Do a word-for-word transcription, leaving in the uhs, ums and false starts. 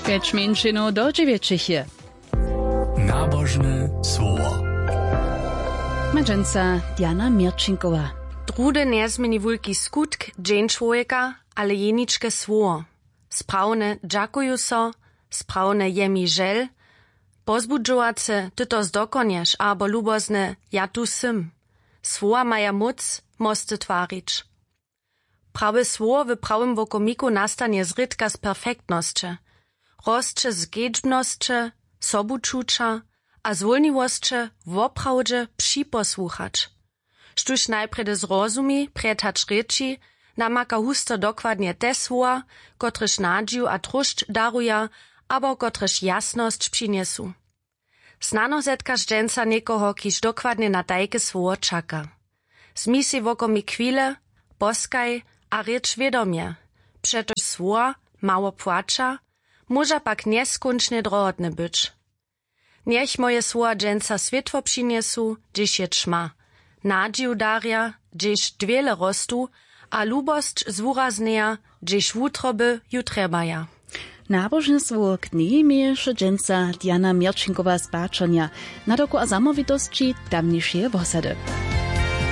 Pjeć mjeńšinow do dźewjećich je. Nabožne słowo. Madźenca Diana Měrčinkowa. Drude njezměni wulki skutk dźeń čłowjeka, ale jeničke słowo. Sprawne dźakuju so, sprawne je mi žel, pozbudźowace ty to zdokonješ abo lubozne ja tu sym. Słowa maja móc mosty twarić. Prawe słowo w prawym wokomiku nastanje zrědka z perfektnosće, rosće z kedźbnosće, sobučuća a zwólniwosće woprawdźe připosłuchać. Štóž najprjedy zrozumi prjed hač rěči, namaka husto dokładnje te słowa, kotrež nadźiw a tróšć daruja abo kotrež jasnosć přinjesu. Snano zetkaš dźensa někoho, kiž dokładnje na tajke słowo čaka. Zmi sej wokomik chwile, poskaj a rěč wědomje, přetož słowa mało płaća, móža pak njeskónčnje drohotne być. Njech moje słowa dźensa swětło přinjesu, hdźež je ćma, nadźiw darja, hdźež dwěle rostu, a lubosć zwuraznjeja, hdźež wutroby ju trjebaja. Nabožne słowo k njej měješe dźensa Diana Měrčinkowa z Bačonja. Na doku a zamołwitosći tamnišeje wosady.